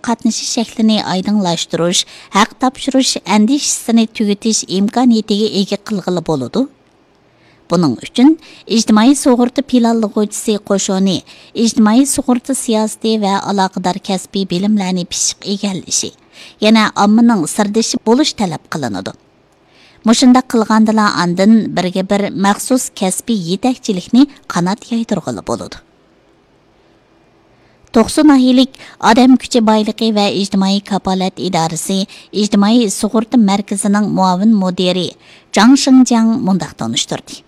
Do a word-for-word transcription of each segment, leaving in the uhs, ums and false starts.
قاتنىشىش شەكلىنى ئايدىڭلاشتۇرۇش، ھەق تاپشۇرۇش ئەندىشىسىنى تۈگىتىش ئىمكانىيىتىگە ئىگە قىلغىلى بولىدۇ. بۇنىڭ ئۈچۈن ئىجتىمائىي سۇغۇرتا پىلانلىغۇچىسى قوشۇنى ئىجتىمائىي سۇغۇرتا سىياسىتى ۋە ئالاقىدار كەسپىي بىلىملەرنى پىششىق ئىگىلىشى، يەنە ئاممىنىڭ سىردىشى بولۇش تەلەپ قىلىنىدۇ. مۇشۇنداق قىلغاندىلا ئاندىن بىرگە بىر مەخسۇس كەسپىي يېتەكچىلىكنى قانات يايدۇرغىلى بولىدۇ. توقسۇ ناھىيەلىك ئادەم كۈچى بايلىقى ۋە ئىجتىمائىي كاپالەت ئىدارىسى ئىجتىمائىي سۇغۇرتا مەركىزىنىڭ مۇئاۋىن مۇدىرى جاڭ شېڭجياڭ مۇنداق تونۇشتۇردى.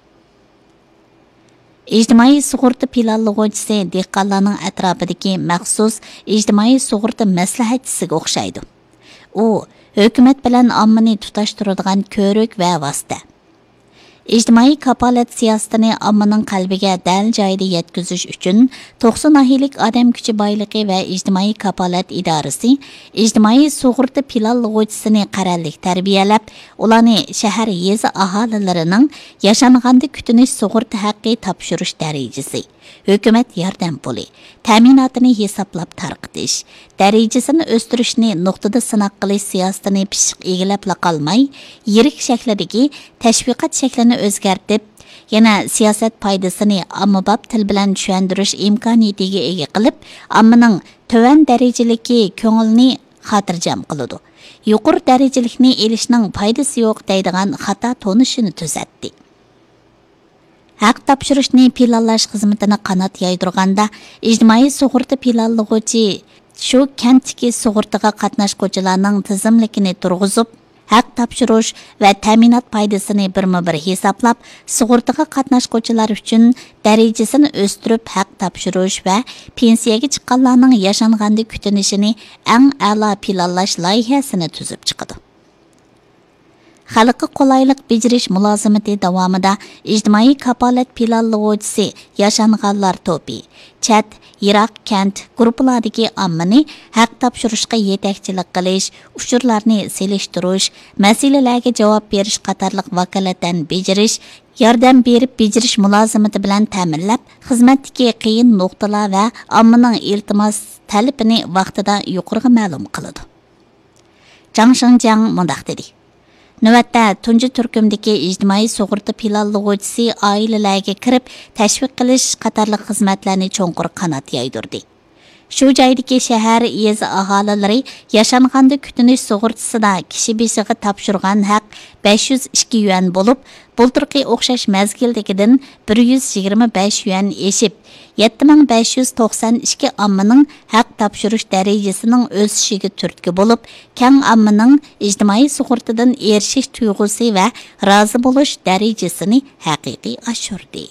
ئىجتىمائىي سۇغۇرتا پىلانلىغۇچىسى دېھقانلارنىڭ ئەتراپىدىكى مەخسۇس ئىجتىمائىي سۇغۇرتا مەسلىھەتچىسىگە ئوخشايدۇ. ئۇ ھۆكۈمەت بىلەن ئاممىنى تۇتاشتۇرىدىغان كۆۋرۈك ۋە ۋاسىتە. ئىجتىمائىي كاپالەت سىياسىتىنى ئاممىنىڭ قەلبىگە دەل جايىدا يەتكۈزۈش ئۈچۈن، توقسۇ ناھىيەلىك ئادەم كۈچى بايلىقى ۋە ئىجتىمائىي كاپالەت ئىدارىسى ئىجتىمائىي سۇغۇرتا پىلانلىغۇچىسىنى قەرەللىك تەربىيەلەپ، ئۇلارنى شەھەر، يېزا ئاھالىلىرىنىڭ ياشانغاندا كۈتۈنۈش سۇغۇرتا ھەققى تاپشۇرۇش دەرىجىسى، ھۆكۈمەت ياردەم پۇلى، تەمىناتىنى ھېسابلاپ تارقىتىش، دەرىجىسىنى ئۆستۈرۈشنى نۇقتىدا سىناق قىلىش سىياسىتىنى پىششىق ئىگىلەپلا قالماي، يىرىك شەكلىدىكى تەشۋىقات شەكلىنى ئۆزگەرتىپ، يەنە سىياسەت پايدىسىنى ئاممىباب تىل بىلەن چۈشەندۈرۈش ئىمكانىيىتىگە ئىگە قىلىپ، ئاممىنىڭ تۆۋەن دەرىجىلىكى كۆڭلىنى خاتىرجەم قىلىدۇ. يۇقىرى دەرىجىلىكنى ئېلىشنىڭ پايدىسى يوق دەيدىغان خاتا تونۇشىنى تۈزەتتى. ھەق تاپشۇرۇشنى پىلانلاش خىزمىتىنى قانات يايدۇرغاندا، ئىجتىمائىي سۇغۇرتا پىلانلىغۇچى شۇ كەنتتىكى سۇغۇرتىغا قاتناشقۇچىلارنىڭ تىزىملىكىنى تۇرغۇزۇپ، ھەق تاپشۇرۇش ۋە تەمىنات پايدىسىنى بىرمۇبىر ھېسابلاپ، سۇغۇرتىغا قاتناشقۇچىلار ئۈچۈن دەرىجىسىنى ئۆستۈرۈپ ھەق تاپشۇرۇش ۋە پېنسىيەگە چىققانلارنىڭ ياشانغاندا كۈتۈنۈشىنى ئەڭ ئەلا پىلانلاش لايىھەسىنى تۈزۈپ چىقىدۇ. خەلققە قولايلىق بېجىرىش مۇلازىمىتى داۋامىدا ئىجتىمائىي كاپالەت پىلانلىغۇچىسى ياشانغانلار توپى، چەت، يىراق كەنت گۇرۇپپىلاردىكى ئاممىنى ھەق تاپشۇرۇشقا يېتەكچىلىك قىلىش، ئۇچۇرلارنى سېلىشتۇرۇش، مەسىلىلەرگە جاۋاب بېرىش قاتارلىق ۋاكالىتەن بېجىرىش، ياردەم بېرىپ بېجىرىش مۇلازىمىتى بىلەن تەمىنلەپ، خىزمەتتىكى قىيىن نۇقتىلار ۋە ئاممىنىڭ ئىلتىماس تەلىپىنى ۋاقتىدا يۇقىرىغا مەلۇم قىلىدۇ. جاڭ شېڭجياڭ مۇنداق دېدى: نۆۋەتتە تۇنجى تۈركۈمدىكى ئىجتىمائىي سۇغۇرتا پىلانلىغۇچىسى ئائىلىلەرگە كىرىپ، تەشۋىق قىلىش قاتارلىق خىزمەتلەرنى چوڭقۇر قانات يايدۇردى. شۇ جايدىكى شەھەر، يېزا ئاھالىلىرى ياشانغاندا كۈتۈنۈش سۇغۇرتىسىدا كىشى بېشىغا تاپشۇرغان ھەق بەش يۈز ئىككى يۈەن بولۇپ، بۇلتۇرقى ئوخشاش مەزگىلدىكىدىن بىر يۈز يىگىرمە بەش يۈەن ئېشىپ، يەتتە مىڭ بەش يۈز توقسان ئىككى ئاممىنىڭ ھەق تاپشۇرۇش دەرىجىسىنىڭ ئۆسۈشىگە تۈرتكە بولۇپ، كەڭ ئاممىنىڭ ئىجتىمائىي سۇغۇرتىدىن ئېرىشىش تۇيغۇسى ۋە رازى بولۇش دەرىجىسىنى ھەقىقىي ئاشۇردى.